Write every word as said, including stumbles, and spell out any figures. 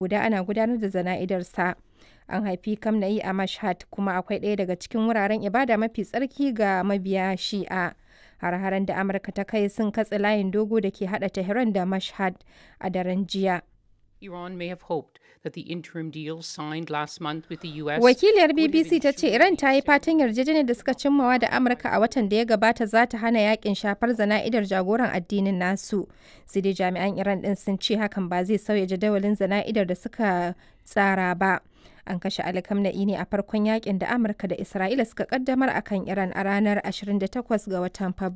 Guda ana gudanar da jana'idarsa. An haifi Khamenei a Mashhad kuma akwai ɗaya daga cikin wuraren ibada mafi tsarki ga mabiya Shi'a. Hare-haren da Amurka ta kai sun katse layin dogo da ke haɗa Tehran da Mashhad a daren jiya. Iran may have hoped that the interim deal signed last month with the U S Wakiliyar B B C ta ce Iran ta yi fatan yarjejeniyar da suka cimmawa da Amurka a watan da ya gabata za ta hana yakin shafar zana'idar jagoran addinin nasu. Sai dai jami'an Iran din sun ce hakan ba zai sauya jadawalin zana'idar da suka tsara ba. An kashe Ali Khamenei ne a farkon yakin da Amurka da Isra'ila suka kaddamar akan Iran a ranar ashirin da takwas ga watan Fabrairu.